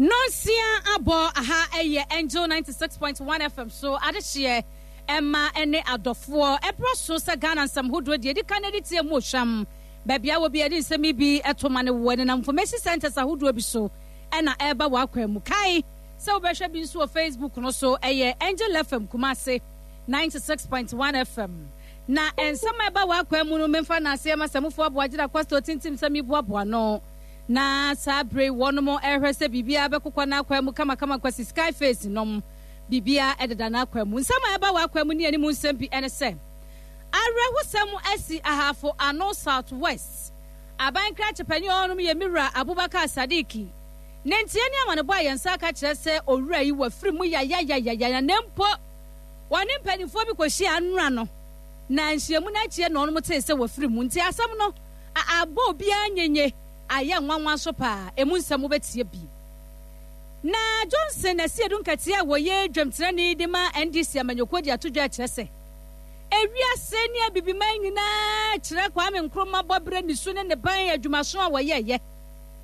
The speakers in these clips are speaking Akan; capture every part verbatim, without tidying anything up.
Nonsia abɔ aha ɛyɛ Angel ninety six point one F M so adehyeɛ ɛma ɛne adɔfoɔ ɛbrɛ so sɛ Ghana nsɛm hodoɔ deɛ edi kan ɛde tie mu ohwam baabi a wɔ bi ɛde nsɛm yi bi ɛto ma ne wɔ nenam information centers ahodoɔ bi so ɛna ɛreba wɔ akwan mu kae sɛ wobɛhwɛ bi nso wɔ Facebook no so ɛyɛ Angel F M Kumasi ninety six point one F M na nsɛm a ɛba wɔ akwan mu no memfa n'aseɛ ma sɛmufoɔ aboagyina kwasitɔ tintim sɛm yi boaboa no. Na saa bere wɔnom ɛhwɛ sɛ biribiara bɛkokɔ n'akwan mu kamakama kwasi sky face nom biribiara ɛdeda n'akwan mu. Nsɛm a ɛba wɔ akwan mu ne anim nsɛm bi ɛne sɛ awerɛhosɛm asi Ahafo Ano South West aban krakye panyin ɔnom yɛ Mira Abubakar Sadiki ne ntie ne amanebɔ a yɛn nsa aka kyerɛ sɛ owura yi wafiri mu yayayayaya na mpo wɔne mpanimfoɔ bi kɔhyia anora no na nhyiamu no akyi na ɔnom tee sɛ wafiri mu. Nti asɛm no abɔ obiara nyenye ayɛ nwanwa so paa emu nsɛm wobɛtie bi. Na Johnson na si edu nkatia a wɔyɛ dwamtenani de ma N D C amanyɔkuo de ato dwa kyerɛ sɛ ewiase ne abibiman nyinaa kyerɛ Kwame Nkrumah bɔberɛ ne su ne ne ban adwumaso a wɔyɛɛyɛ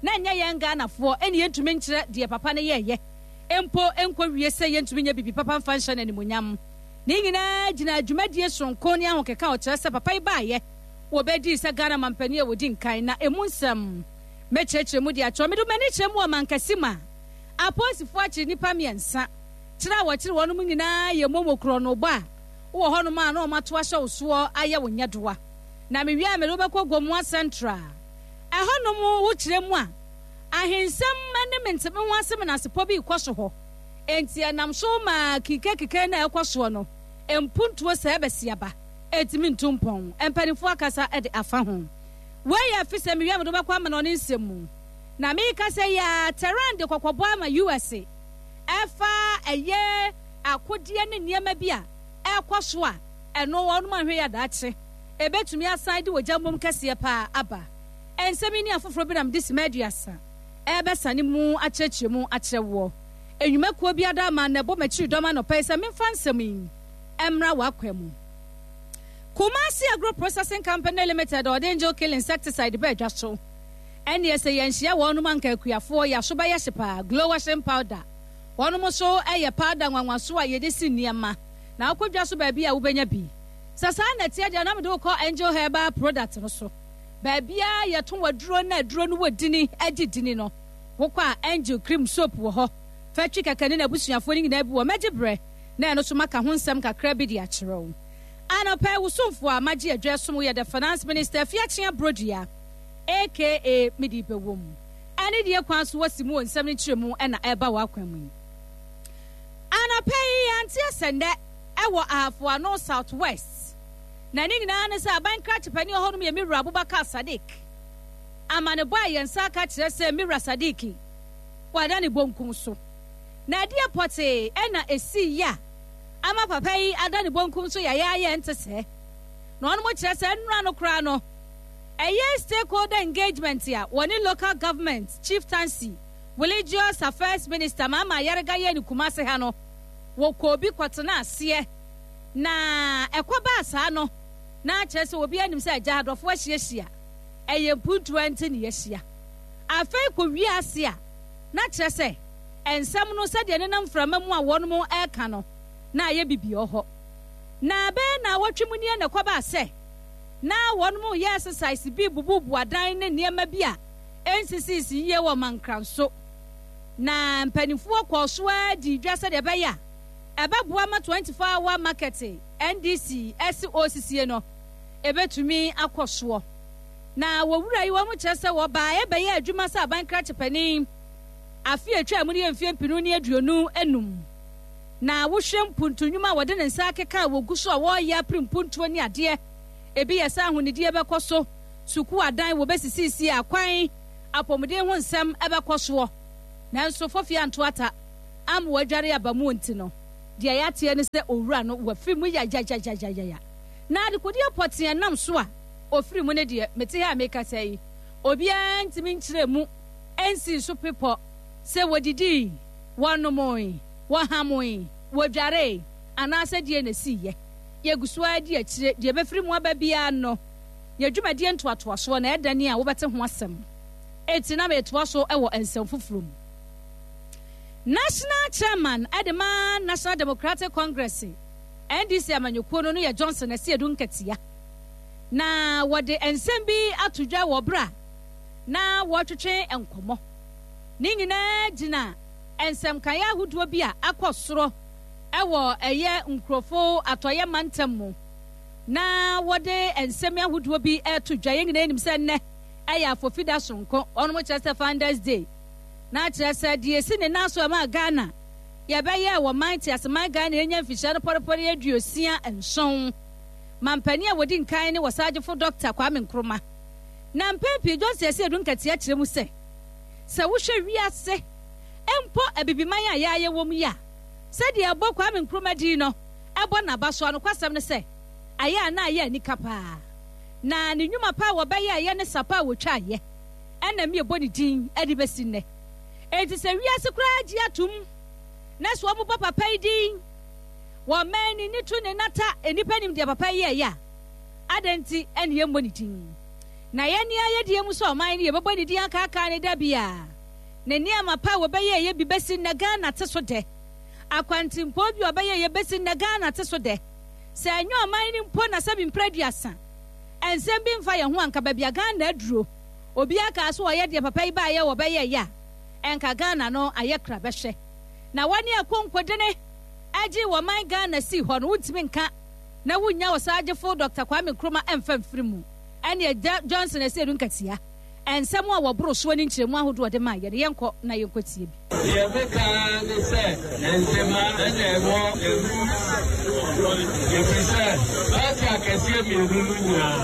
na nyɛ yɛn Ghanafoɔ ɛne yɛntumi nkyerɛ deɛ papa no yɛɛyɛ mpo nkɔ wie sɛ yɛntumi nyɛ bibi papa mfa nhyɛ n'animuonyam. Ne nyinaa gyina adwumadie sononko ne ahokeka a ɔkyerɛ sɛ papa yi baayɛ wɔbɛdii sɛ Ghana mampanin a wɔdi nkan na emu nsɛm mɛkyerɛkyerɛ mu de akyerɛ. Mede m'ani kyerɛ mu wɔ mankasi mu a apolisifoɔ akyere nnipa mmiɛnsa kyerɛ a wɔkyere wɔn nyinaa yɛ momo korɔ no bɔ a wɔ hɔnom a na wɔn ato ahyɛ wo soɔ ayɛ wo nyɛdoa. Na mewie a mede wobɛkɔ Gomoa Central ɛhɔnom wokyerɛ mu a ahensɛm ne menteme ho asɛm na asepɔ bi kɔ so hɔ. Enti ɛnam so ma kikekike na ɛkɔ soɔ no mpuntuo sɛ ɛbɛsi aba ɛtumi ntu mpɔn. Mpanimfoɔ akasa de afa ho. Wei yɛ fi sɛ mewie a mede wobɛkɔ ama no ɔne nsɛm mu. Na meka sɛ yɛ Tehran de kɔkɔbɔ ama U S ɛfa ɛyɛ akodeɛ ne nneɛma bi a ɛkɔ so a ɛno wɔnom ahwɛ yɛ adaakye ɛbɛtumi asan de wɔgya mmom kɛseɛ paa aba. Nsɛm yi ne afoforɔ bi nam de sima aduasa ɛbɛsane mu akyerɛkyerɛ mu akyerɛ woɔ. Enwumakuo bi ada ama na ɛbɔ m'akyiri dɔm anɔpa yi sɛ memfa nsɛm yi ɛmmra w'akwan mu. Kumasi Agro Processing Company Limited ɔde Angel Kill Insecticide bɛɛ dwa so. Ɛnneɛ sɛ yɛnhyia wɔnom anka akuafoɔ yɛaso bɛyɛ hye paa. Glow washing powder. Wɔnom nso ɛyɛ powder nwanwaso a yɛde si nneɛma. Na wokɔ dwa so baabi a wobɛnya bi. Sɛ saa na ɛteɛ deɛ na mede wokɔ Angel Herbal product no so. Baabi a yɛto waduro na aduro no wɔ dini agye dini no. Wokɔ a Angel cream soap wɔ hɔ. Factory kɛkɛ ne n'abusuafoɔ no nyinaa bi wɔ mɛgye berɛ na ɛno so maka ho nsɛm kakra bi de akyerɛ wo. Anɔpɛ wosomfoɔ a magye adwa som yɛ the finance minister Afiakyea Brodua A K A mede bɛwɔ mu. Ɛne deɛ kwan so wɔsi mu wɔ nsɛm no kyerɛ mu ɛna ɛba wɔ akwan mu yi. Anɔpɛ yi yɛante asɛndɛ ɛwɔ Ahafo Ano South West. Na ne nyinaa ne sɛ aban krakye panin wɔ hɔnom yɛ Mira Abubakar Sadiq. Amanebɔ a yɛn nsa aka kyerɛ sɛ Mira Sadiq wada ne bonkum so. Na adeɛ pɔtee ɛna esi yɛ a ama papa yi ada ne bonkum so yɛyɛ ayɛ nte sɛ. Na ɔnom kyerɛ sɛ nnura no koraa no ɛyɛ stakeholder engagement a wɔne local government chieftaincy religious affairs minister Mama Ayariga yɛ ne Kumasi ha no wɔkɔ obi kɔtena aseɛ na ɛkɔ baa saa no na kyerɛ sɛ obi anim sɛ agya adɔfo ahyiahyia ɛyɛ mpuntuo nti ne yɛahyia. Afei kɔ wie ase a na kyerɛ sɛ nsɛm no sɛdeɛ nenam mframa mu a wɔnom ɛreka no na ayɛ bibi wɔ hɔ. Na bɛyɛ na wɔtwe mu nie na ɛkɔ baa sɛ na wɔnom yɛ exercise bi bububu adan ne nneɛma bi a ɛnsisisi yie wɔ mankranso. Na mpanimfoɔ kɔɔ so ara di dwa sɛdeɛ ɛbɛyɛ a ɛbɛboa ma twenty-four hour market N D C S O C C no ɛbɛtumi akɔ soɔ. Na wɔwura yi wɔn kyerɛ sɛ wɔbaa ɛbɛyɛ adwuma sɛ aban krakye panin afe atwa mu ne yɛ mfeɛ mpinu ne aduonu enum. Na wohwɛ mpuntu nnwuma a wɔde ne nsa akeka a wɔgu so a wɔreyɛ apere mpuntuo ne adeɛ. Ebi yɛ sɛ ahonidie bɛkɔ so, sukuu adan wɔbɛsisisi akwan, apɔmuden ho nsɛm ɛbɛkɔ soɔ. Nanso fofie anto ata ama wɔadware aba mu nti no, deɛ yɛateɛ ne sɛ owura no wafiri mu yayayayayaya. Na adekodeɛ pɔtee nam so a ofiri mu ne deɛ mete ha a mekasa yi, obiara ntumi nkyerɛ mu nsi so pepɔ sɛ wɔdidii, wɔnomoe, wɔhamoe, wɔdwaree anaasɛ deɛ na esiiɛ. Yɛgu so ara di akyire deɛ ɛbɛfiri mu aba biara no, yɛ dwumadie ntoatoasoɔ na ɛda ni a wobɛte ho asɛm. Enti na metoa so wɔ nsɛm foforɔ mu. National Chairman de ma National Democratic Congress, N D C amanyɔkuo no no yɛ Johnson Asiedu Nketia. Na wɔde nsɛm bi ato dwa wɔ berɛ a na wɔretwetwe nkɔmmɔ. Ne nyinaa gyina nsɛmkaeɛ ahodoɔ bi a akɔ soro ɛwɔ ɛyɛ nkurɔfo atɔeɛ mantam mu na wɔde nsɛm ahodoɔ bi ɛto dwa. Yɛn nyinaa nim sɛ nnɛ ɛyɛ afofida sononko, wɔn kyerɛ sɛ Founders Day, na kyerɛ sɛ deɛ esi ne nan so ɛma Ghana yɛbɛyɛ wɔ man te aseman Ghana yɛnya mfihyia no pɔrepɔre aduosia nson. Mampanin a wɔdi nkan ne wɔsagyefo Doctor Kwame Nkrumah. Na mpɛn pii Johnson Asiedu Nketia kyerɛ mu sɛ sɛ wohwɛ wiase mpo, abibiman a yɛayɛ wɔ mu yi a, sɛdeɛ ɛbɔ Kwame Nkrumah din no ɛbɔ n'aba so anokwasɛm no sɛ ayɛ a na ayɛ anika paa, na ne nnwuma pa a wɔbɛyɛ ɛyɛ ne sapa a wɔtwa ayɛ ɛna mi ɛbɔ ne din ɛde bɛsi nnɛ. Enti sɛ wiase koraa gye atom na sɛ wɔbɔ papa yi din wɔn mɛn ne ne to ne nata nnipa nim deɛ papa yi yɛ a, adɛn nti ɛne yɛmmɔ ne din? Na yɛn ni ayɛdeɛ mu sɛ ɔman no yɛbɛbɔ ne din akaakaa ne da bia ne nneɛma pa a wɔbɛyɛ yɛ bi bɛsi nnɛ Ghana te so dɛ, akwantempɔn bi a ɔbɛyɛ yɛ bɛsi nnɛ Ghana te so dɛ. Sɛ ɛnyɛ ɔman no mpo na sɛbi mpere aduasa nsɛm bi mfa yɛn ho anka baabi a Ghana aduro, obiara kaa so ɔyɛ deɛ papa yi baayɛ wɔbɛyɛ yɛ a, ɛnka Ghana no ayɛ kra bɛhwɛ. Na wɔne akonkodene agye wɔ man Ghana si hɔ no, wontumi nka na wonya ɔsagyefo Doctor Kwame Nkrumah ɛmfa mfiri mu. Ɛne Agya Johnson Asiedu Nketia nsɛm a wɔboro soɔ ne nkyerɛmu ahodoɔ de maa yɛn. Yɛnkɔ na yɛnkɔ tie bi. Deɛ meka ne sɛ ntema ɛna ɛwɔ emu, ɛfiri sɛ party akɛseɛ mmienu no nyinaa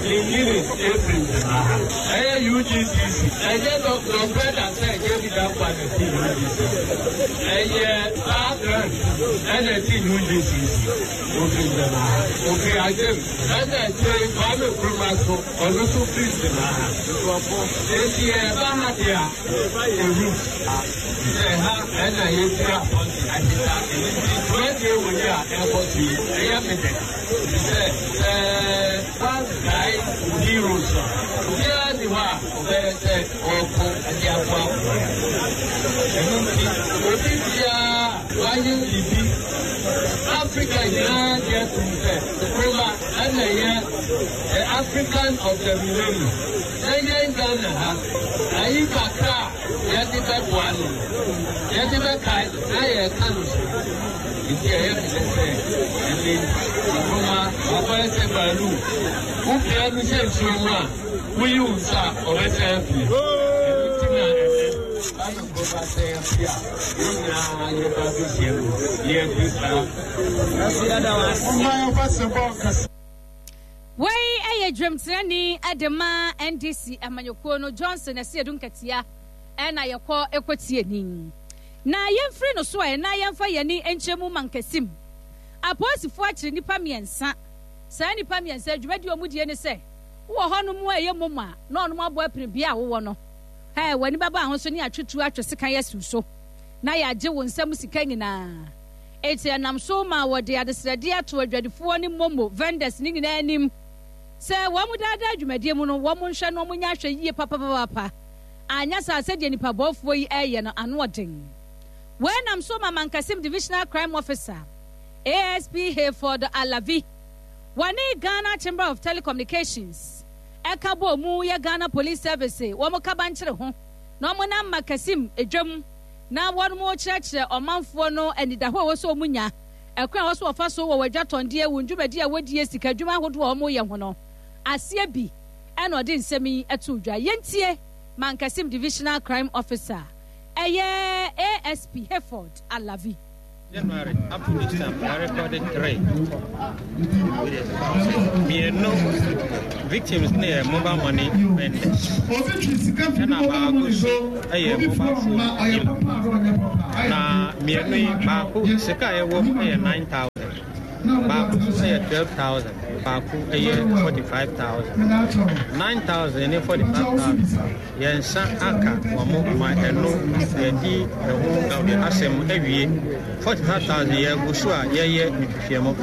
ne nyini ɛfiri ntema ha. Ɛyɛ U G C C, ɛnyɛ nɔkorɛ da sɛ J B Danquah na ɛti U G C C, ɛyɛ Paa Grant ɛna ɛti U G C C, ofiri ntema ha, ofiri Agyem, ɛna akyire Kwame Nkrumah so, ɔno nso firi ntema ha. Nkurɔfo eti yɛba ha deɛ a, yɛba yɛ root sɛ ha ɛna yɛfiri apɔnte ahyeta. Ɛno nti dwumadie wɔ yi a ɛkɔ so yi, ɛyɛ me dɛ sɛ sɛ wankae heroes a, obiara ni hɔ a ɔbɛyɛ sɛ ɔko ɛde aboa ɔman. Ɛno nti obi biara wayɛ biribi, Africa nyinaa deɛ atum sɛ Nkrumah ɛna ɛyɛ the African of the millennium, na yɛn Ghana ha ayi kakra a yɛde bɛboa no, yɛde bɛkae na yɛka no so. Nti ɛyɛ me dɛ sɛ ɛne Nkrumah wakɔyɛ sɛ balloon, wopia no hyɛ nsuo mu a, woyi wo nsa a, ɔbɛsɛ afie. Ɛno nti na ɛnɛ Kwame Nkrumah sɛ afi a yɛn nyinaa yɛba bɛhyia mu yɛdi saa. Wei yɛ dwamtenani de ma N D C amanyɔkuo no, Johnson Asiedu Nketia, ɛna yɛkɔ ɛkɔtie ni. Na yɛmfiri no so a, ɛna yɛmfa yɛni nkyɛn mu Mankasim apolisifoɔ akyere nnipa mmiɛnsa. Saa nnipa mmiɛnsa dwumadi a wɔn die ne sɛ wowɔ hɔnom a ɛyɛ mom a na ɔnom abɔ apini bea a wowɔ no ɛ w'ani bɛba ahosuo ne atwetuo atwe sekan asiw so na yɛagye wo nsam sika nyinaa. Eti ɛnam so ma wɔde adesrɛdeɛ ato adwadifoɔ ne momo vendors ne nyinaa anim sɛ wɔn mu daadaa dwumadie mu no, wɔn nhwɛ no, wɔn nya ahwɛ yie papapapa, anya saa sɛdeɛ nipa bɔɔfoɔ yi ɛreyɛ no ano ɔden. Wɔnam so ma Mankasim Divisional Crime Officer A S P Hayford Alavi wɔne Ghana Chamber of Telecommunications ɛka bɔ mu yɛ Ghana Police Service wɔn kaba nkyere ho na wɔn nam Mankasim edwam na wɔn mo kyerɛkyerɛ ɔmanfoɔ no anidahɔ a ɛwɔ sɛ wɔn nya, ɛkwan a wɔso wɔfa so wɔ wɔn adwatɔndeɛ, wɔn dwumadi a wɔdie, sika adwuma ahodoɔ a wɔyɛ ho no aseɛ bi. Ɛna ɔde nsɛm yi ɛto dwa. Yɛntie Mankasim Divisional Crime Officer, ɛyɛ A S P Hayford Alavi. January up to this time, I recorded three. Mmienu victims ne yɛ mobile money vendors. Ɛna baako so yɛ mobile phone dealer. Na mmienu yi, baako sika a ɛwɔ mu yɛ nine thousand. Baako nso yɛ twelve thousand. Baako ɛyɛ forty five thousand, nine thousand ne forty five thousand. Yɛn nsa aka wɔn ma ɛno yɛdi ɛho asɛm awie. forty five thousand yɛgu so a yɛyɛ nhwehwɛmu,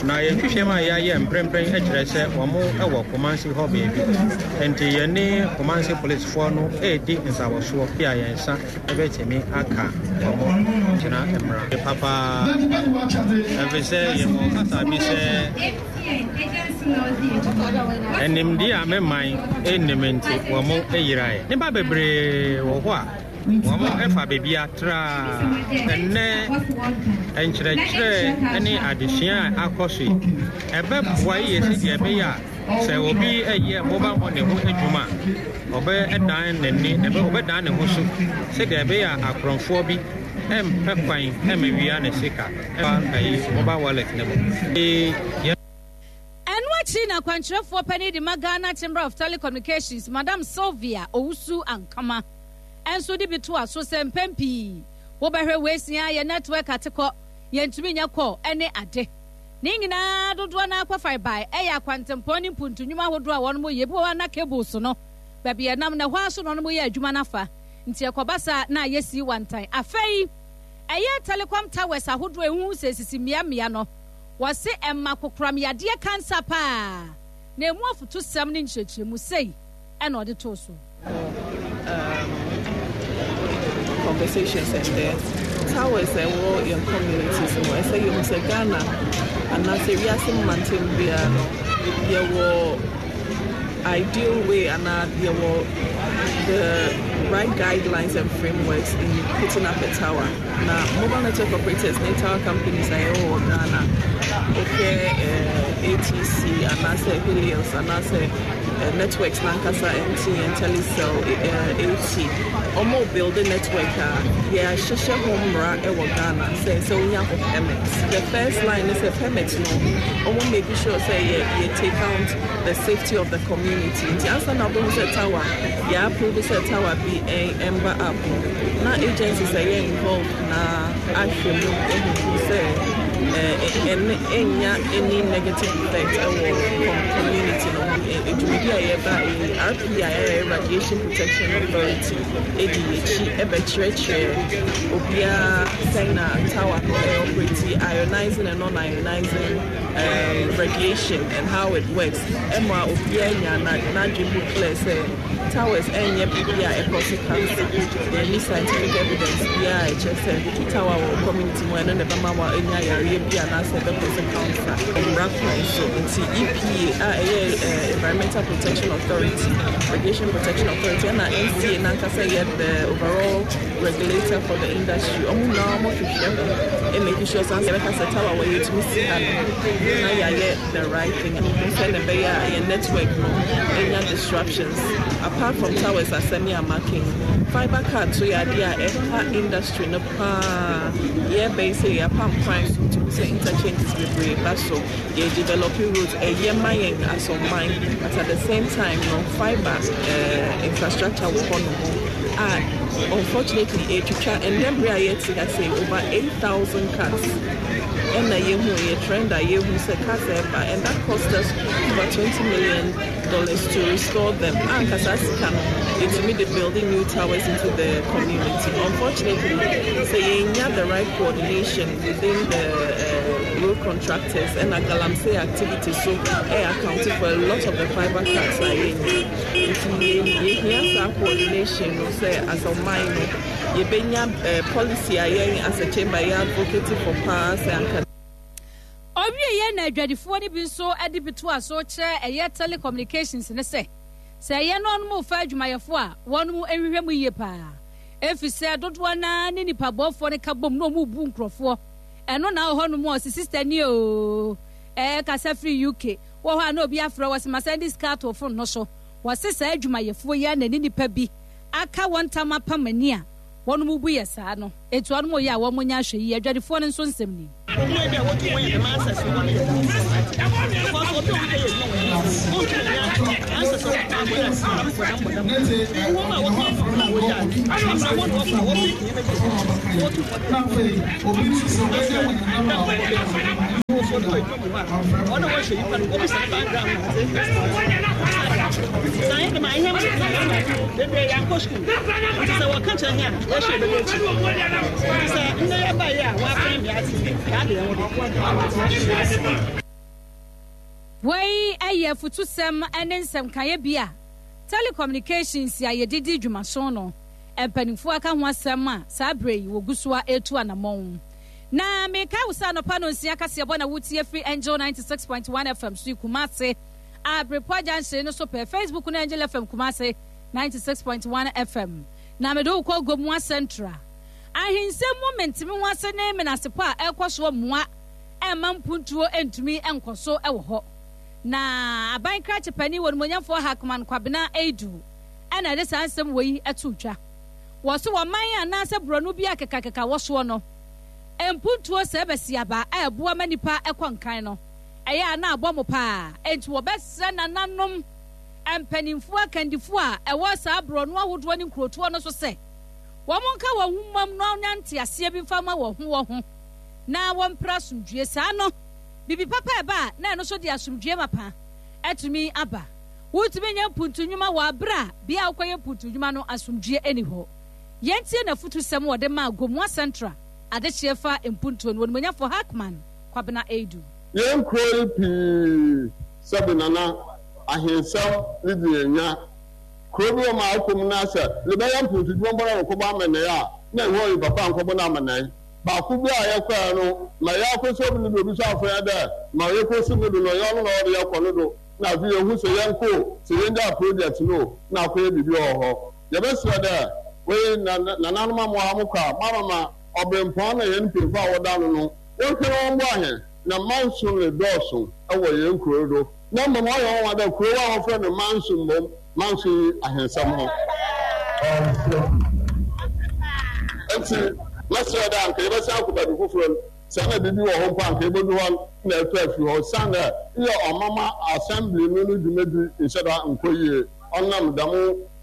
na yɛn nhwehwɛmu a yɛayɛ mprempren kyerɛ sɛ wɔn wɔ Kumasi hɔ baabi. Nti yɛne Kumasi policefoɔ no redi nsawɔsoɔ a yɛn nsa bɛtumi aka wɔn gyina mmara papaa, ɛfiri sɛ yɛwɔ kasa bi sɛ animdeɛ a me man nnim nti wɔn yeraeɛ. Nnipa bebree wɔ hɔ a wɔn fa baabi atra. Ɛnnɛ nkyerɛkyerɛ ne adesua a akɔ so yi, ɛbɛboa yie sɛdeɛ ɛbɛyɛ a sɛ obi yɛ mobile money ho adwuma a, ɔbɛdan n'ani, ɔbɛdan ne ho so sɛdeɛ ɛbɛyɛ a akorɔmfoɔ bi mpɛ kwan mmɛwia ne sika ɛfa mobile wallet no mu. Ɛno akyi na akwankyerɛfoɔ panin de ma Ghana Chamber of Telecommunications, Madam Sylvia Owusu Ankama, nso de bi toa so sɛ mpɛn pii wobɛhwɛ weesia yɛ network atekɔ, yɛntumi nyɛ call ne ade. Ne nyinaa dodoɔ no ara kɔfae bae ɛyɛ akwantempɔn ne mpuntu nnwuma ahodoɔ a wɔnom yɛ. Ebi wɔ hɔ a na cables no baabi ɛnam na ɛhɔ ara so na wɔnom yɛ adwuma no afa, nti ɛkɔba saa na ayɛ sii wantan. Afei ɛyɛ telecom towers ahodoɔ a ɛhuhu sɛ esisi mmeammea no, wɔse ɛma kokoram yadeɛ kansa paa, na emu afutusɛm ne nkyerɛkyerɛmu sei ɛna ɔde too so. Um, conversations and there towers ɛwɔ yɛn communities mu, ɛsɛ yɛhu sɛ Ghana anaasɛ wiase mmantam biara no, yɛwɔ ideal way anaa yɛwɔ the right guidelines and frameworks in putting up a tower. Na mobile network operators ne tower companies a yɛwɔ wɔ Ghana, wohwɛ eh, A T C anaasɛ Helios anaasɛ eh, networks nankasa, M T N, Telecel, eh, A T, ɔmo build network a yɛahyehyɛ ho mmara wɔ Ghana sɛ sɛ wonya ho permit. The first line ne sɛ permit no, ɔmo make sure sɛ yɛ yɛ take out the safety of the community. Nti ansa na wobɛhu sɛ tower yɛ approve sɛ tower bi ɛmba up no, na agencies ɛyɛ involved na ahwɛ mu ehuhu sɛ ɛne ɛnya any negative effect ɛwɔ community no ho. Dwumadi a yɛba yi, R P A a ɛyɛ Radiation Protection Authority edi akyi ɛbɛkyerɛkyerɛ obiara sɛn na tower no ɛyɛ operate, ionizing and non-ionizing um, radiation and how it works, ɛma obiara nya n'adwene mu clear sɛ towers ɛnyɛ biribi a ɛkɔ so cancer. Yɛnni scientific evidence biara a ɛkyerɛ sɛ tower wɔ community mu ɛno na ɛbɛma wa anya yareɛ bi anaasɛ ɛbɛkɔ so cancer. Mmara kwan so nti, E P A a ɛyɛ uh, Environmental Protection Authority, Radiation Protection Authority, ɛna N C A nankasa yɛ the overall regulator for the industry, ɔmo nyinaa ɔmo hwehwɛ ho ɛmake sure sɛ yɛbɛka sɛ tower wɔ yɛtumi si ha no na yɛayɛ the right thing sɛ na ɛbɛyɛ a yɛn network no ɛnya disruptions. Apart from towers asɛm yɛ amaking, fiber cut so yɛ adeɛ a ɛha industry no paa. Yɛbɛyi sɛ yɛapam kwan so tumi sɛ interchanges bebree ba so, yɛ developing roads, ɛyɛ ma yɛn as ɔman, but at the same time no, fiber uh, infrastructure wɔ hɔ nom a unfortunately ɛtwitwa. Ɛndɛ bere a yɛte ha sɛ over eight thousand cuts ɛna yɛhu yɛ trend a yɛhu sɛ cuts ɛba, and that cost us over twenty million dollars to restore them. Ankasa sika no yɛtumi de building new towers into the community. Unfortunately, sɛ yɛnya the right coordination within the uh, road contractors ɛna galamsey activities so ɛyɛ accounting for a lot of the fiber cuts a yɛnya. Nti yɛhia saa coordination no sɛ as ɔman no yɛbɛnya uh, policy a yɛn as a chamber yɛ advocate for paa sɛ anka. Ɔwieɛ na adwadifoɔ no bi nso de bi to aso kyerɛ ɛyɛ telecommunications ne sɛ sɛ ɛyɛ no ɔnom fa adwumayɛfoɔ a wɔnom nhwehwɛ mu yie paa, ɛfiri sɛ dodoɔ naa ne nipa bɔɔfoɔ no ka bom na ɔmu bu nkurɔfoɔ. Ɛno na wɔ hɔnom a ɔsi sister ni o, ɛɛ kasa firi U K wɔ hɔ a na obi afrɛ wɔ sɛ masan de sika ato phone no so. Wɔse saa adwumayɛfoɔ yi a na ne nipa bi aka wɔn ntam apam ani a wɔnom bu yɛ saa no etu wɔnom yɛ a wɔn nya ahwɛ yi. Adwadifoɔ no nso nsɛm ni. Obi a wotu wɔn yɛ dɛm answers no wɔn yɛ dɛm because obi a wɔyɛ adwuma wɔ yɛn wɔntumi nya answers a wɔn bɔ dɛm bɔ dɛm bɔ dɛm wɔn a wɔka fam na wɔyɛ ade abira wɔn na wɔfa wɔn fi nneɛma bi wɔtu wɔn. so obi wɔ edwuma mu hɔ a ɔno wɔhwɛ nipa no obi sɛ ne background na ɔdze saa yɛ dɛm a ihe bebree yɛankɔ sukuu nti sɛ wɔka kyerɛ hɛn a yɛhwɛ bɛbɛ akyi nti sɛ ndɛ yɛba yi a wɔafɛn me ate yɛade yɛn ho do. Wei yɛ afutusɛm ne nsɛmkaeɛ bi a telecommunications a yɛde di dwumaso no mpanimfoɔ aka ho asɛm a saa berɛ yi wɔgu so a ɛretu anammɔn. Na mekae wo sɛ anɔpa no nsia kaseɛbɔ na wotie firi Angel ninety six point one F M so yi Kumase a Berepoa Junction no so pɛ, Facebook no Angel F M Kumase ninety six point one F M. Na mede wo kɔ Gomoa Central. Ahensɛm mu menteme ho ase ne menasepɔ a ɛrekɔ soɔ mmoa ɛmma mpuntuo ntumi nkɔ so wɔ hɔ. Na aban krakye panin wɔ Animuonyamfoɔ Hackman Kwabena Aidoo ɛna ɛde saa nsɛm wei to dwa. Wɔ so wɔ man anaasɛ borɔno bi a kekakeka wɔ soɔ no, mpuntuo sɛ bɛsiaba a ɛboa ma nipa kɔ nkan no, ɛyɛ a na abɔ mo paa. Enti wɔbɛsrɛ nananom mpanimfoɔ akandifoɔ a ɛwɔ saa borɔno ahodoɔ ne nkurotoɔ no so sɛ wɔn nka wɔn ho mmom na wɔnya nteaseɛ bi mfa ma wɔn ho wɔ ho na wɔmpere asomdwie. Saa no, biribi papa ɛba a na ɛno nso de asomdwie mapa atumi aba. Wotumi nyɛ mpuntu nnwuma wɔ abere a bea a wokɔyɛ mpuntu nnwuma no asomdwie nni hɔ. Yɛntie n'afotusɛm wɔde maa Gomoa Central adehyeɛ fa mpuntuo no, Onimonyafo Hackman Kwabena Aidoo. Yɛn kuro yi pii sɛbe nana ahensɛm ne di yɛn nya. Kuro bi wɔ ma akɔ mu na sɛ lebɛyɛ mpuntu dwuma mpo na rekɔbɔ amanɛe a, na ɛhɔ yi papa nkɔbɔ no amanɛe. Baako bi a yɛkɔɛ no, ma yɛakɔsi obi no do, obi so afrɛ yɛn dɛ ma yɛkɔsi no do no, ɔyɛ ɔno na ɔwɔ dɛ yɛkɔ no do. Na afei yehu sɛ yɛnkɔ o, sɛ yɛngyaa project no o, na akɔyɛ biribi wɔ hɔ. Yɛbɛserɛ dɛ, wei na nananom amoa mo kɔ a, moamama ɔberempɔn na hɛn mpanyimfo a wɔda ano no, wɔnhwɛ na wɔmboa hɛn, na manso redɔɔ so wɔ hɛn kurow do. Na mbom ɔyɛ nwanwa dɛ kurow a wɔfrɛ no Manso mbom Manso nnyi ahensɛm ho. Ntsi mɛserɛ dɛ anka yɛbɛsan akɔ beebi fofor no, sɛ nna biribi wɔ hɔ mpo a anka yebodu hɔ na etu efi hɔ, osiandɛ eyɛ ɔmama assembly no no dwumadzi nnhyɛ da nnkɔ yie ɔnam dɛm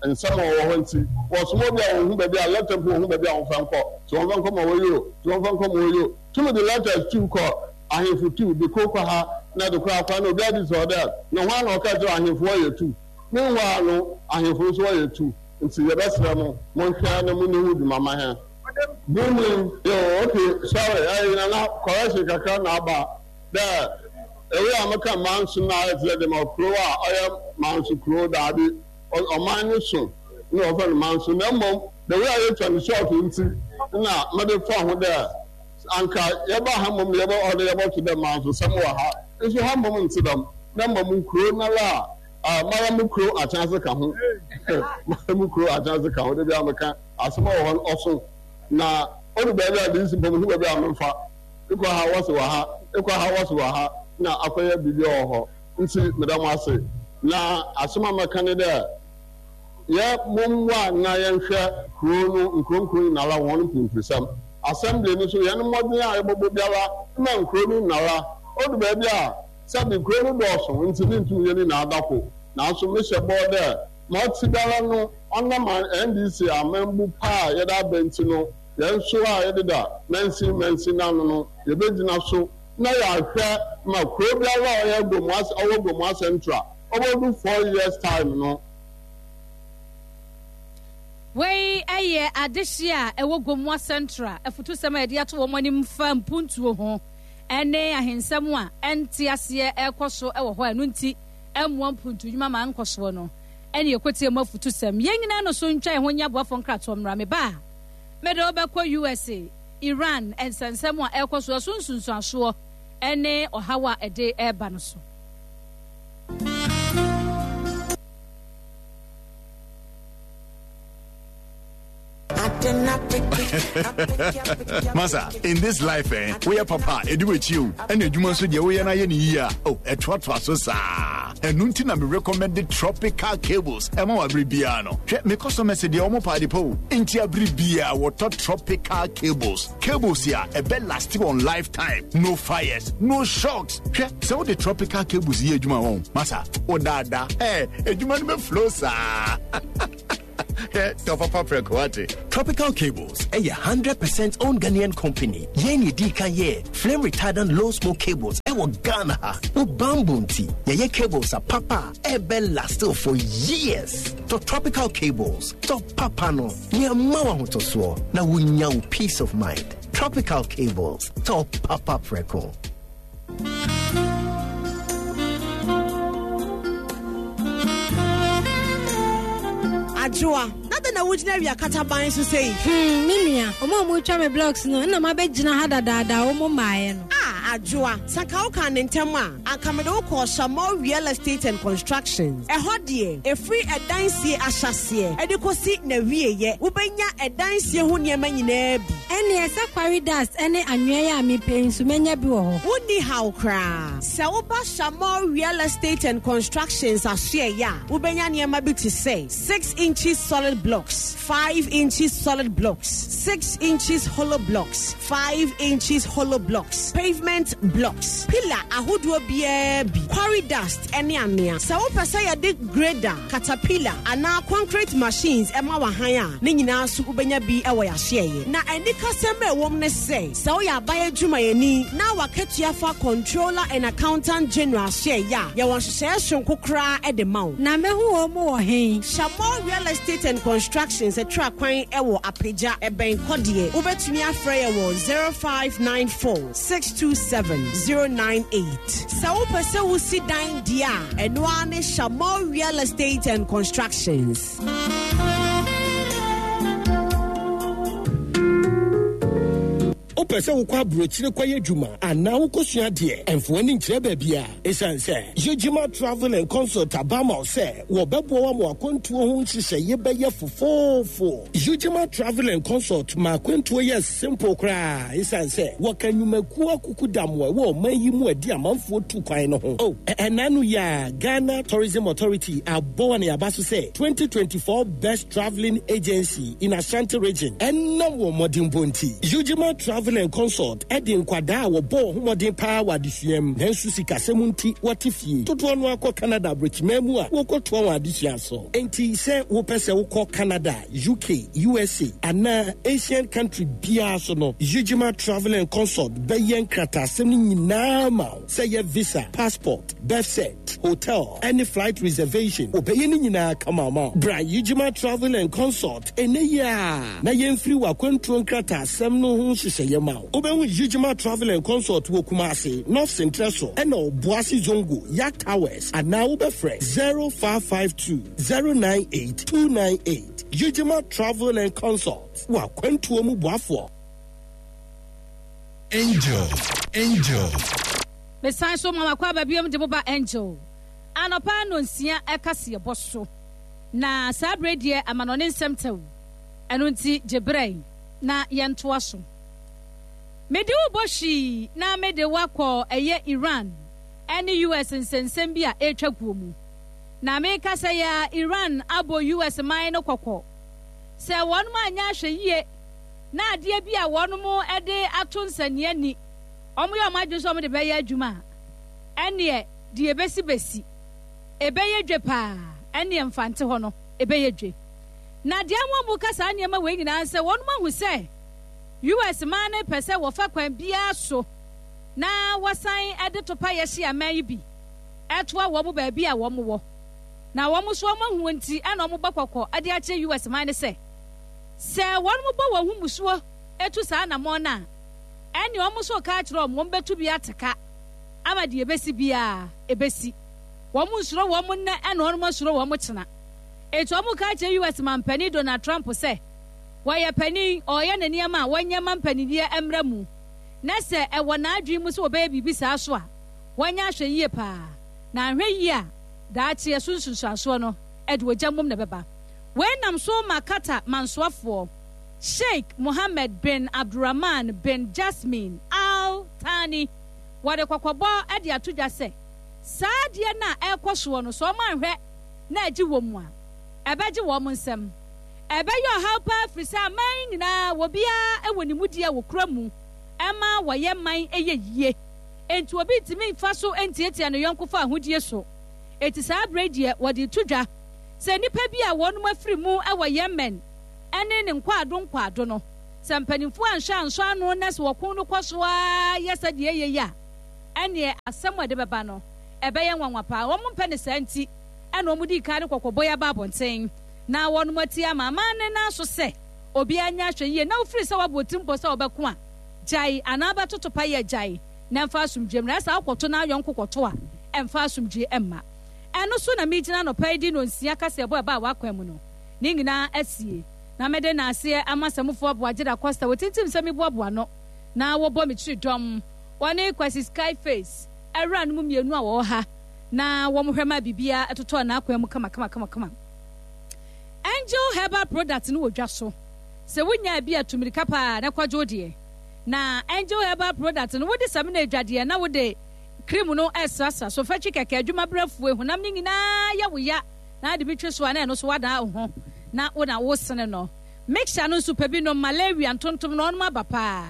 nsɛm a ɔwɔ hɔ ntsi. Wɔsoma obi a onnhu beebi a letter mpo onnhu beebi a wɔmfa nkɔ, sɛ wɔmfa nkɔ ma woyi o, sɛ wɔmfa nkɔ ma woyi o, tum dze letters tu kɔ ahemfo tu de kor kɔ ha na de kor akɔ ha na obiara bisa wo dɛ na hwan na ɔkaa kyerɛ ahemfo wɔyɛ tu? Meanwhile no ahemfo no so wɔyɛ tu ntsi yɛbɛserɛ mo monhwɛ na munni ho dwuma ma hɛn. Booming yo okay sorry ɛyi nana correction kakra na aba dɛ ewe a meka manso na ayɛ tse dɛ dɛm kurow a ɔyɛ manso kurow daabi ɔman no so na wɔfrɛ no manso na mmom the way a yɛtwa no short nti na mede fa ho dɛ anka yɛba ha mmom yɛbɛ ɔde yɛbɔto dɛ manso sɛm wɔ ha nso ha mmom nte dɛm na mmom kurow nala a mara mu kurow akyɛnse ka ho mara mu kurow akyɛnse ka ho de bi a meka asɛm a wɔ hɔ no ɔso na ɔdu baabi a de si mpɔ mehu baabi a memfa ekɔ ha wɔse wɔ ha ekɔ ha wɔse wɔ ha na akɔyɛ biribi wɔ hɔ nti meda mo ase na asɛm a mɛka ne dɛ yɛ mommoa na yɛnhwɛ kurow no nkuronkuro nyinara wɔn mpunturisɛm assembly no so yɛn mmɔden a yɛbɔbɔ biara ma nkuro no nyinara ɔdu baabi a sɛbi kuro no dɔɔso nti ne ntum yɛ ne nyinaa dako nanso mehyɛ bɔɔ dɛ ma ɔte biara no ɔnam N D C amambu pa a yɛde aba nti no yɛn nso a yɛdeda mansin mansin n'ano no yɛbɛgyina so na yɛahwɛ ma kuro biara a ɔyɛ Gomoa ɔwɔ Gomoa Central ɔbɛdu four years time no. Wei yɛ adehye a ɛwɔ Gomoa Central afutusɛm a yɛde ato wɔn anim fa mpuntuo ho ne ahensɛm a ɛnte aseɛ ɛrekɔ so wɔ hɔ a ɛno nti ɛmmoa mpuntu nnwuma ma nkɔsoɔ no ɛne ɛkɔtie mu afutusɛm. Yɛn nyinaa no so ntwa yɛn ho nyɛ aboafoɔ nkratoɔ mmra. Me ba a mede wobɛkɔ U S A, Iran nsɛnsɛm a ɛrekɔ so ɛso nsunsuansoɔ ne ɔhaw a ɛde ɛreba no so. Masa, in this life, eh, we are papa, edu with you, and the human so we are na ye oh, a so sa. And nunti na me recommended tropical cables. Ema wa bibia no. Hwɛ me customer se de omo pa de po. Nti abribia water tropical cables. Cables here a be lasting on lifetime. No fires, no shocks. Hwɛ se wo de tropical cables ye adwuma won. Masa, o dada. Eh, adwuma no be flow sa. Tropical Cables, a hundred percent owned Ghanaian company. Yen di kan ye flame retardant low smoke cables. Ɛwɔ Ghana ha. Wo bambɔ nti, yɛyɛ cables a papa a ɛbɛ last for years. Tɔ Tropical Cables, tɔ papa no, nea ma wo ahotɔsoɔ na wonya wo peace of mind. Tropical Cables, tɔ papa prɛko. Adwoa, na dɛn na wogyina awia kataban so sei? Hmm, me nua, ɔmo a ɔmo twa me blocks no, ɛna mabɛgyina ha dadaada a ɔmo mmaeɛ no. Ah, Adwoa, sɛ anka wokaa ne ntɛm a, anka mede wo kɔɔ Shamol Real Estate and Constructions. Ɛhɔ deɛ, ɛfiri ɛdan sie ahyɛaseɛ ɛde kɔsi n'awieeɛ, wobɛnya ɛdan sie ho nneɛma nyinaa bi. Ɛnneɛ sɛ quarry dust ne anwea yi a mepɛ yi nso, mɛnya bi wɔ hɔ. Wonni haw koraa. Sɛ woba Shamol Real Estate and Constructions asoɛeɛ a, wobɛnya nneɛma bi te sɛ six inches solid blocks, five inches solid blocks, six inches hollow blocks, five inches hollow blocks, pavement blocks, pillar ahodoɔ biara bi, quarry dust ne anwea. Sɛ wopɛ sɛ yɛde grader, caterpillar anaa concrete machines ɛma w'ahan a, ne nyinaa nso wobɛnya bi wɔ yɛahyeɛyɛ. Na anikasɛm a ɛwɔ mu ne sɛ, sɛ woyɛ aban adwumayɛni na w'akatua fa Controller and Accountant General ahyeɛyɛ a, yɛwɔ nhyehyɛeɛ soronko koraa de ma wo. Na mɛhu wɔn mu wɔ he? Shamol Real Estate and Constructions ɛtra kwan wɔ Apagya, ɛbɛn Kɔdeɛ. Wobɛtumi afrɛ yɛ wɔ zero five nine four, six two seven, zero nine eight. Sɛ wopɛ sɛ wosi dan deɛ a, ɛno ara ne Shamol Real Estate and Constructions. Wopɛ sɛ wokɔ aburokyire kɔyɛ adwuma anaa wokɔsua adeɛ, ɛmfa w'ani nkyerɛ baabi a. Ɛsiane sɛ Yegyima Travel and Consult aba ama wo sɛ wɔbɛboa wo ama w'akwantuo ho nhyehyɛeɛ bɛyɛ fofoofo. Yegyima Travel and Consult ma akwantuo yɛ simple koraa ɛsiane sɛ wɔka nnwumakuo akukudam a ɛwɔ ɔman yi mu a ɛde amanfoɔ tu kwan no ho. Oh, ɛnna no yi a Ghana Tourism Authority abɔ wɔn aba so sɛ twenty twenty-four Best Travelling Agency in Ashanti Region ɛnam wɔn mmɔdenbɔ nti. Yegyima Travel and Consult ɛde nkwadaa a wɔbɔ wɔn ho mmɔden paa wɔ adesua mu nanso sikasɛm nti wɔte fie dodoɔ no akɔ Canada aburokyiman mu a wɔkɔtoa wɔn adesua so. Enti sɛ wopɛ sɛ wokɔ Canada, U K, U S A anaa Asian country biara so no, Yegyima Travel and Consult bɛyɛ nkrataasɛm no nyinaa ma wo, sɛ yɛ visa, passport, birth cert, hotel ɛne flight reservation, wɔbɛyɛ no nyinaa kama ma wo. Bra Yegyima Travel and Consult ɛnɛ yi a na yɛmfiri w'akwantuo nkrataasɛm no ho nhyehyɛeɛ ma wo. Wobɛhu Yegyima Travel and Consult wɔ Kumase, North Sentrɛ so ɛna Ɔboase Zongo Yak Towers, anaa wobɛfrɛ zero five five two zero nine eight two nine eight. Yegyima Travel and Consult, w'akwantuo mu boafoɔ. Angel, Angel. Mesan so ma wakɔ aba biom de mo ba Angel anɔpa nonsia ɛka seɛbɔ so. Na saa berɛ deɛ amanɔne nsɛm tɛw, ɛno nti gye berɛ na yɛntoa so. Mede wo bɔ hwii na mede wakɔ ɛyɛ Iran ɛne U S nsɛnsɛm bi a ɛretwa guo mu. Na meka sɛ yɛ Iran abɔ U S man no kɔkɔ sɛ wɔn anyɛ ahwɛ yie na adeɛ bi a wɔn de ato nsania ni, wɔn yɛ wɔn adwene sɛ wɔn de bɛyɛ adwuma a, ɛneɛ deɛ ebesi besi ebɛyɛ dwe paa, ɛneɛ mfante hɔ no ebɛyɛ dwe. Na deɛ wɔn mu ka saa nneɛma wei nyinaa sɛ wɔn ahu sɛ U S man no pɛ sɛ wɔfa kwan biara so na wɔsan de topa yɛhye aman yi bi ɛtoa wɔn baabi a wɔn wɔ, na wɔn nso wɔn ahu nti ɛna wɔn bɔ kɔkɔ de akyerɛ U S man no sɛ sɛ wɔn bɔ wɔn ho musuo etu saa anamɔn no a, ɛne wɔn nso ka akyerɛ wɔn, wɔn bɛtu bi ateka ama deɛ ebesi biara ebesi. Wɔn nsoro wɔn nnɛ ɛna wɔn asuro wɔn kyena. Etu wɔn ka akyerɛ U S mampanin Donald Trump sɛ wɔyɛ panin, ɔreyɛ ne nneɛma a wɔnyɛ ma mpaniniɛ mmerɛ mu, na sɛ ɛwɔ n'adwene mu sɛ wɔbɛyɛ biribi saa so a, wɔnyɛ ahwɛ yie paa, na ahwɛ yie a daakye ɛso nsunsuansoɔ no ɛde ogya mmom na ɛbɛba. Wei nam so ma Qatar mansoafoɔ Sheikh Mohammed bin Abdulrahman bin Jasmin Al Thani wɔde kɔkɔbɔ de ato dwa sɛ saa adeɛ no a ɛrekɔ soɔ no, sɛ wɔn anhwɛ na agye wɔ mu a, ɛbɛgye wɔn nsam, ɛbɛyɛ ɔhaw paa, firi sɛ aman nyinaa wɔbiara wɔ ne mudi a wɔkura mu ɛma wɔyɛ man ɛyɛ yie, enti obi ntumi mfa so ntiatia ne yɔnko fa ahodie so. Eti saa abere deɛ wɔde to dwa sɛ nnipa bi a wɔnom afiri mu wɔ Yemen ɛne ne nkwaado nkwaado no, sɛ mpanimfoɔ anhwɛ ansɔ ano na sɛ wɔko no kɔ so ara yɛ sɛdeɛ ɛyɛ yi a, ɛneɛ asɛm a ɛde bɛba no, ɛbɛyɛ nwanwa paa. Wɔn mpɛ ne saa nti ɛna wɔn dii kan de kɔkɔbɔ yi aba abɔnten na wɔnom ati ama aman ne nan so sɛ obiara nyɛ ahwɛyie na wofiri sɛ woabɔ tirimpɔ sɛ wobɛko a, gyae anaa wobɛtoto payɛ a, gyae na ɛmfa asomdwoeɛ mmra. Ɛsɛ wokɔto na ayɔnko kɔto a, ɛmfa asomdwoeɛ mma. Ɛno so na megyina anɔpa yi de nnɔnsia kaseɛbɔ a ɛbaa w'akwan mu no ne nyinaa asie, na mede naaseɛ ama Samufoɔ Aboagye Da Costa, wɔtintim sɛ meboaboa ano na wɔbɔ me kyiri dɔm, wɔne Kwasi Skyface awuranom mmienu a wɔwɔ ha na wɔhwɛ ma biribiara totɔɔ n'akwan mu kamakamakamakama. Angel Herbal Product no wɔ dwa so. Sɛ wonyaa bi a, tu mmirika paa na kɔgye wo deɛ. Na Angel Herbal Product no, wode samina adwadeɛ na wode cream no resrasra so. Fa twi kɛkɛ, adwuma berɛ afue, honam no nyinaa yɛ wo ya na ade bi twe so a na ɛno nso woadan wo ho na wo na wosene no. Mixture no nso pɛ bi nom, malaria ntontom no ɔnom aba paa.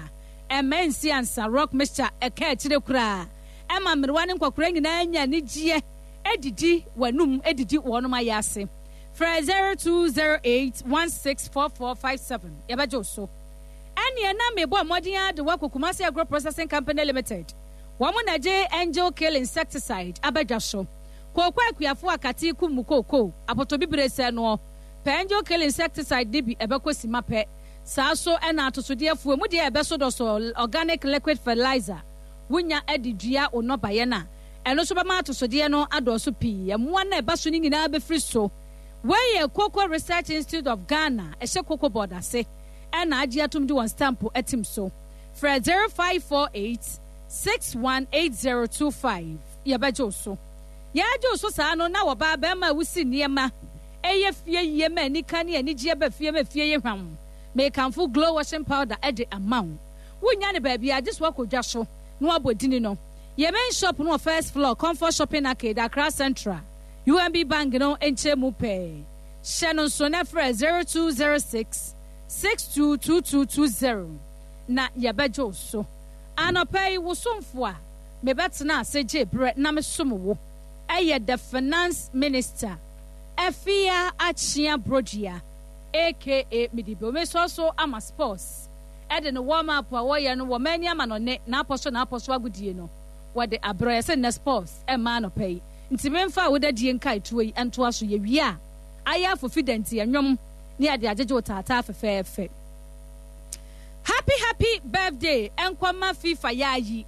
Ɛmma ɛnsi ansa, rock mixture ɛka akyire koraa. Ɛma mmerewa ne nkɔkoraa nyinaa nya anigyeɛ didi w'anum didi wɔnom ayɛ ase. Frɛ zero two zero eight one six four four five seven yɛbɛgye wo so. Ɛnneɛ na mebɔ mmɔden ara de wo akɔ Kumasi Agro Processing Company Limited. Wɔn na ɛgye Angel Kill Insecticide aba dwa so. Kooko akuafoɔ a katee kum mo kooko, apotobibire sɛ noɔ, pɛ Angel Kill Insecticide no bi ɛbɛkɔ sima pɛ. Saa so na atosodeɛ afuo mu deɛ ɛbɛso dɔsɔ Organic Liquid Fertilizer wonya de dua wo nnɔbaeɛ no a, ɛno nso bɛma atosodeɛ no adɔɔso pii. Mmoa no a ɛba so no nyinaa bɛfiri so. Wei yɛ Cocoa Research Institute of Ghana, ɛhyɛ Cocoa Board ase, ɛna agye atom de wɔn stampo atim so. Frɛ zero five four eight six one eight zero two five, yɛbɛgye wo so. Yɛregye wo so saa no, na wɔbaa barima a wosi nneɛma ɛyɛ fie yie ma anika ne anigyeɛ ba fie ma fie yɛ hwam. Mekamfo Glow Washing Powder de ama wo. Wonnya no baabiara gye sɛ woakɔ dwa so na woabɔ dini no. Yɛn main shop no wɔ first floor, Comfort Shopping Arcade, Accra Central, U M B Bank no nkyɛn mu pɛɛ. Hyɛ no nso na frɛ zero two zero six six two two two two zero na yɛbɛgye wo so. Anɔpa yi, wo somfo a mebɛtena ase gyee berɛ na mesom wo yɛ the Finance Minister, Afia Akyea Brodua, aka Medibe. Mesɔɔ so ama sports. De no warm up a wɔyɛ no wɔ mani amanɔne n'apɔ so n'apɔ so agodie no wɔde abrɛ yɛ sɛ nnɛ sports ɛmma anɔpa yi nti memfa awodadie nkaetoɔ yi ntoa so. Yɛwie a ayɛ afofi da nti ɛnwom ne yɛde agyegye wo taataa fɛfɛɛfɛ. Happy happy birthday nkɔma FIFA Yaayi.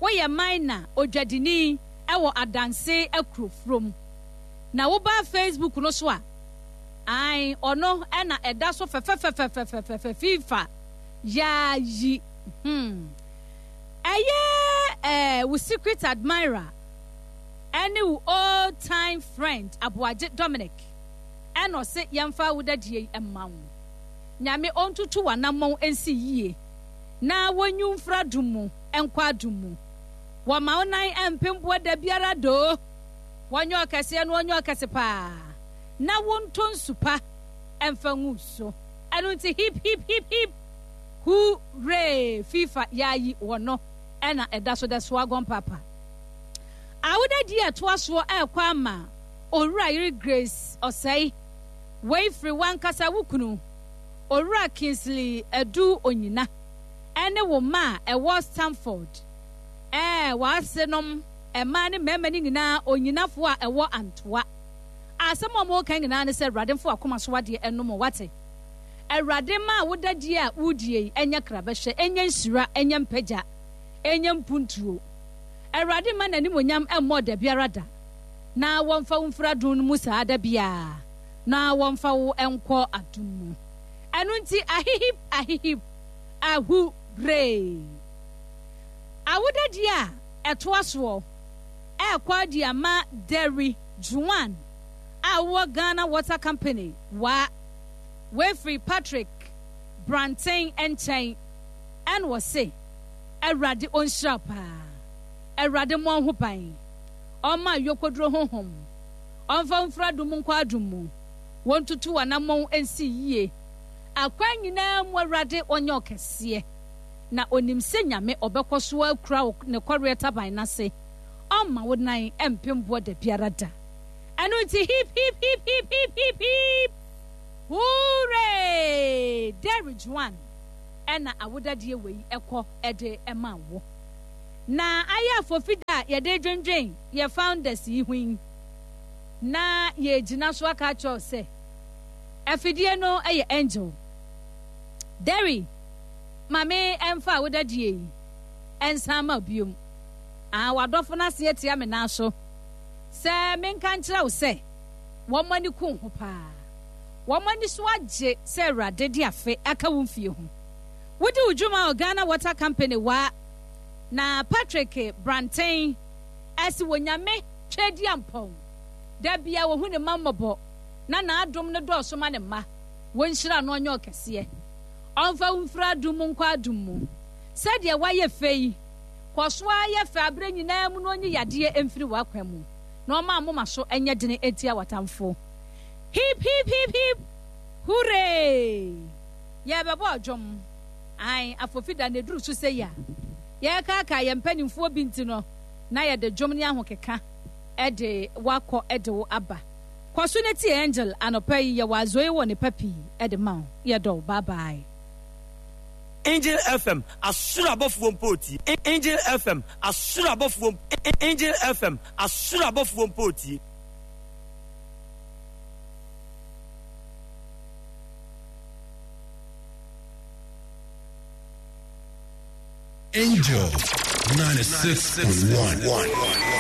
Woyɛ minor odwadini ɛwɔ Adanse Akurofurom na woba Facebook no so a, ae, ɔno na ɛda so fɛfɛfɛfɛfɛfɛfɛ FIFA yaa yi hmm. Ɛyɛ eh, wo secret admirer ɛne wo old time friend Aboagye Dominic ɛna ɔse yɛmfa awodadie yi mma wo. Nyame ɔntutu w'anammɔn nsi yie na wɔnyi wo mfiri adom mu nkɔ adom mu. Wɔma wo nan mpem boɔ da biara doo. Wɔnyɛ ɔkɛseɛ no ɔnyɛ ɔkɛse paa. Na wontɔ nsu pa mfa ngu so. Ɛno nti hip hip hip hip hurray FIFA yaayi wɔ no ɛna ɛda so dɛ soagon papa. Awodadi a ɛtoa soɔ ɛrekɔ ama Owura yere Grace Ɔsɛe. Wei firi w'ankasa wo kunu Owura Kingsley Adu Onyina ɛne wo mma a ɛwɔ Stamford ɛɛ w'asenom mmaa ne mmarima no nyinaa Onyinafoɔ a ɛwɔ Antoa. Asɛm a wɔreka nyinaa ne sɛ, Awurade mfa w'akoma so adeɛ nnom wo, woate? Awurade mma awodadie a woredie yi nyɛ krabɛhwɛ, ɛnyɛ nhyira, ɛnyɛ mpagya, ɛnyɛ mpuntuo. Awurade mma n'animuonyam mmɔ wo dabiara da, na wɔmfa wo mfiri adom no mu saa da biara, na wɔmfa wo nkɔ adom mu. Ɛno nti, ahihip, ahihip, ahuree! Awodadie a ɛtoa soɔ ɛrekɔ adi ama Derry Juan a ɔwɔ Ghana Water Company wa. Wei firi Patrick Branten nkyɛn ɛna ɔse Awurade ɔnhyira wo paa. Awurade mmɔ wo ho ban. Ɔmma ayokoduro honhom. Ɔmfa wo mfiri adom mu nkɔ adom mu. Wɔntutu w'anammɔn nsi yie. Akwan nyinaa mu Awurade ɔnyɛ wo kɛseɛ. Na ɔnim sɛ Nyame ɔbɛkɔ so akura wo ne kɔreɛ taban no ase. Ɔmma wo nan mpem boɔ dabiara da. Ɛno nti hip hip hip hip hip hip hip hooray! Derry Juan ɛna awodadie wei ɛkɔ ɛde ɛma wo. Na ayɛ afofida a yɛde dwendwen yɛ founders yi ho yi. Na yɛgyina so aka akyerɛ sɛ afidie no yɛ Angel. Derry, maame ɛmfa a wodadie yi ɛnsan ma biom. Ah, wadɔfo no ase atia me nan so sɛ menka nkyerɛ wo sɛ wɔn ani ku ho paa. Wɔn ani so agye sɛ Awurade de afe aka wo mfie ho. Wodi wo dwuma wɔ Ghana Water Company wa na Patrick Branten ɛsi wɔ Nyame twɛdi ampɔn. Da bia wɔhu ne mma mmɔbɔ na n'adom no dɔɔso ma ne mma. Wɔnhyira no ɔnyɛ ɔkɛseɛ. Ɔmfa wo mfiri adom mu nkɔ adom mu. Sɛdeɛ wayɛ fɛ yi, kɔ so ara yɛ fɛ aberɛ nyinaa mu na ɔnyi yadeɛ mfiri w'akwan mu na ɔma amoma so nyɛ dene ntia w'atamfo. Hip hip hip hip hooray! Yɛrebɛbɔ ɔdwom. Ae, afofida na ɛduru so sɛ yi a, yɛrekaakaa yɛn mpanimfoɔ bi nti no, na yɛde dwom ne ahokeka de wakɔ de wo aba. Kɔ so na tie Angel anɔpa yi, yɛwɔ azoe wɔ ne pa pii de ma wo. Yɛdɔ wo. Bye bye. Angel F M asoro abɔfoɔ mpo tie. Angel F M asoro abɔfoɔ. Angel F M asoro abɔfoɔ mpo tie. Angel ninety-six point one.